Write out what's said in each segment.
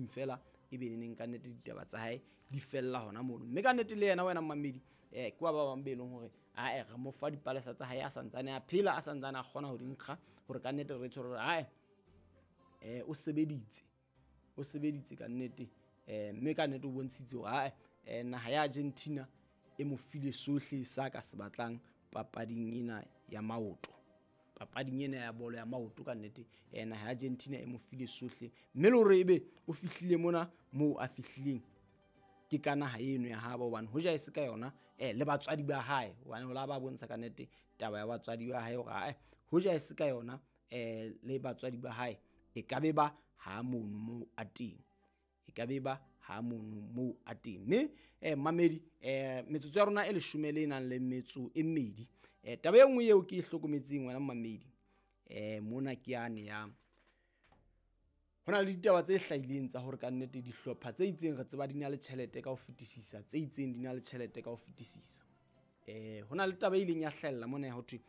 fela e be neneng ka nnete ditaba tsa hae di fella hona mono. Mme ka nnete le yena wena mmamedi ke wa ba bang be leng hore ae re mo fa dipalesa tsa hae a santsane a phela, a santsane a kgona ho di nkga, hore ka nnete re tshwere hore ae o sebeditse, o sebeditse ka nnete. Mme ka nnete o bontshitse hore ae naha ya Argentina e mo file sohle sa ka se batlang papading ena ya maoto, papading ena ya bolo ya maoto. Ka nnete naha ya Argentina e mo file sohle, mme le hore ebe o fihlile mona moo a fihlileng ke ka naha eno ya habo, hobane hoja e se ka yona le batswadi ba hae, hobane ho la ba bontsha ka nnete taba ya batswadi ba hae hore ae hoja e se ka yona le batswadi ba hae e ka be ba ha mono moo a teng, e ka be ba ha mono moo a teng. Mme mamedi metsotso ya rona e 12 le nang le metso e 2. Taba e nngwe eo ke e hlokometseng wena mamedi mona ke yane ya ho na le ditaba tse hlahileng tsa hore ka nnete dihlopha tse itseng re tseba di na le tjhelete ka ho fetisisa, tse itseng di na le tjhelete ka ho fetisisa. Ho na le taba e ileng ya hlahella mona ya ho thwe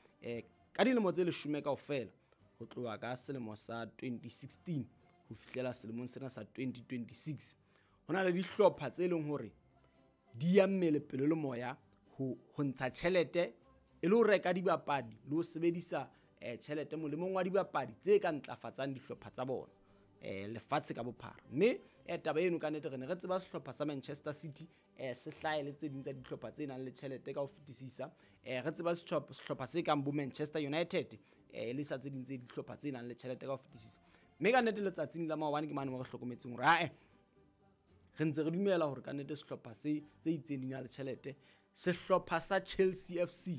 ka dilemo tse 10 kaofela ho tloha ka selemo sa 2016 ho fihlela selemong sena sa 2026, ho na le dihlopha tse leng hore di ya mmele pelo le moya ho ntsha tjhelete e le ho reka dibapadi le ho sebedisa tjhelete molemong wa dibapadi tse ka ntlafatsang dihlopha tsa bona lefatshe ka bophara. Mme taba eno ka nnete re ne re tseba sehlopha sa Manchester City se hlahe le tse ding tsa dihlopha tse nang le tjhelete ka ho fetisisa. Re tseba sehlopha se kang bo Manchester United le sa tse ding tse dihlopha tse nang le tjhelete ka ho fetisisa. Mme ka nnete letsatsing la maobane ke mane mo re hlokometseng hore ae re ntse re dumela hore ka nnete sehlopha se tse itseng di na le tjhelete. Sehlopha sa Chelsea FC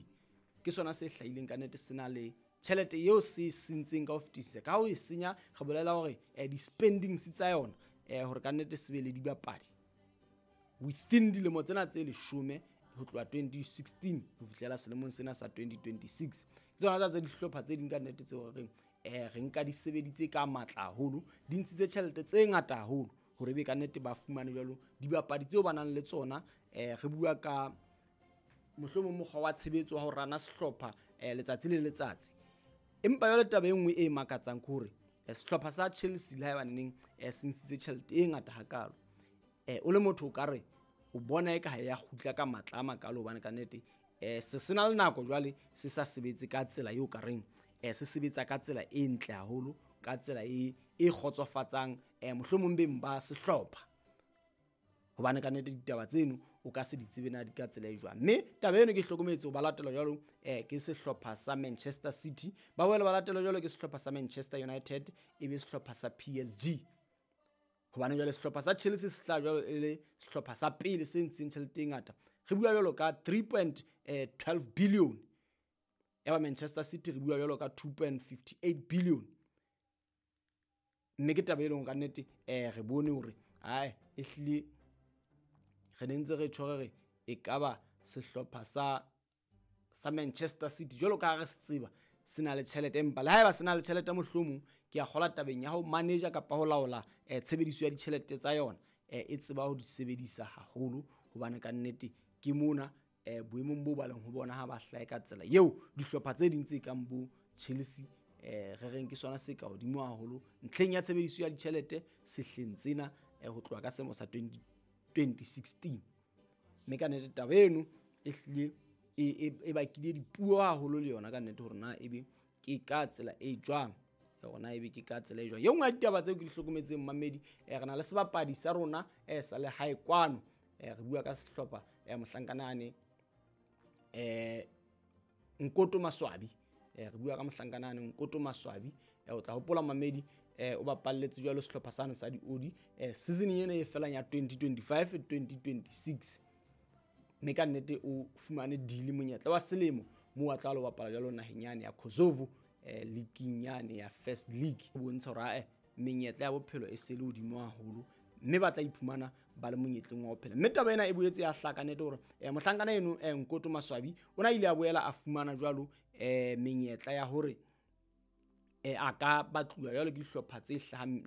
ke sona se hlahileng ka nnete se na le tjhelete eo se sentseng ka ho fetisisa. Ka ho e senya re bolela hore di-spendings tsa yona hore ka nnete se be le dibapadi within dilemo tsena tse 10 ho tloha 2016 ho fihlela selemong sena sa 2026. Ke tsona tsa dihlopha tse ding ka nnete tseo re reng re nka di sebeditse ka matla haholo, di ntshitse tjhelete tse ngata haholo hore ebe ka nnete ba fumane jwalo dibapadi tseo ba nang le tsona. Re bua ka mohlomong mokgwa wa tshebetso wa ho rana sehlopha letsatsi le letsatsi. Empa jwale taba e nngwe e makatsang ke hore sehlopha sa Chelsea le haeba neneng se ntshitse tjhelete e ngata hakalo, o le motho o ka re o bona eka ha ya kgutla ka matla a makalo, hobane ka nnete se sena le nako jwale se sa sebetse ka tsela eo ka reng se sebetsa ka tsela e ntle haholo, ka tsela e kgotsofatsang mohlomong beng ba sehlopha, hobane ka nnete ditaba tseno o ka se di tsebe na di ka tsela e jwang. Mme taba eno ke hlokometse ho ba latela jwalo ke sehlopha sa Manchester City, ba boela ba latela jwalo ke sehlopha sa Manchester United, e be sehlopha sa PSG. Hobane jwale sehlopha sa Chelsea se tla jwalo e le sehlopha sa pele se ntsheng tjhelete e ngata, re bua jwalo ka 3.12 billion. Ya ba Manchester City re bua jwalo ka 2.58 billion. Mme ke taba e leng ka nnete re bone hore ae ehlile re ne ntse re tjho re re e ka ba sehlopha sa Manchester City jwalo ka ha re se tseba se na le tjhelete, empa le haeba se na le tjhelete mohlomong ke a kgola tabeng ya ho manager kapa ho laola tshebediso ya ditjhelete tsa yona e tseba ho di sebedisa haholo, hobane ka nnete ke mona boemong bo ba leng ho bona ha ba hlahe ka tsela eo dihlopha tse ding tse kang bo Chelsea re reng ke sona se ka hodimo haholo ntlheng ya tshebediso ya ditjhelete sehleng tsena ho tloha ka selemo sa 2016. Mme ka nnete taba eno e hlile e bakile dipuo haholo le yona ka nnete hore na ebe ke ka tsela e jwang, hore na ebe ke ka tsela e jwang. E nngwe ya ditaba tseo ke di hlokometseng mamedi, re na le sebapadi sa rona sa lehae kwano, re bua ka sehlopha mohlankana ane Nkoto Maswabi. Re bua ka mohlankana ane Nkoto Maswabi. O tla hopola mamedi o bapalletse jwalo sehlopha sane sa diodi season ena e felang ya 2025 2026. Mme ka nnete o fumane deal monyetla wa selemo moo a tla lo bapala jwalo naheng yane ya Kosovo league yane ya First League. O bontsha hore ae menyetla ya bophelo e se le hodimo haholo, mme ba tla iphumana ba le monyetleng wa ho phela. Mme taba ena e boetse ya hlaka nnete hore mohlankana eno Nkoto Maswabi o na ile a boela a fumana jwalo menyetla ya hore a ka batluwa jwalo ke dihlopha tse hlahang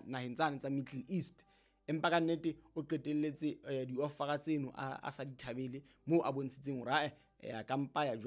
naheng tsane tsa Middle East. Empa ka nnete o qetelletse di-offera tseno a sa di thabele, moo a bontshitseng hore ae a ka mpa ya jwalo.